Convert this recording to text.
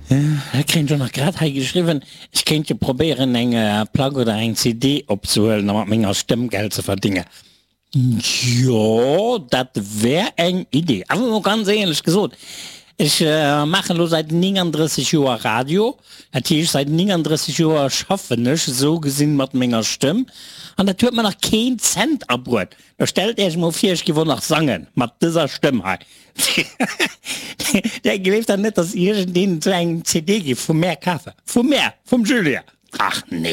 Da kréien ech och nach grad hei geschriwwen, ech kéint jo probéieren eng Plack oder eng CD opzehuelen a mat menger Stëmm Geld ze verdingen. Jo, dat wär eng Idee. Awer mol ganz éierlech gesot, ech maachen elo säit 39 Joer Radio, dat heescht säit 39 Joer schaffen ech esou gesinn mat menger Stëmm an dat huet mer nach keen Cent abruet. Da stellt Äech mol vir, ech giff och nach sangen mat dëser Stëmm hei. Där gleeft dach net, dass iergendeen esou eng CD giff vu mär kafen. Vu mär, vum Julien. Ach nee.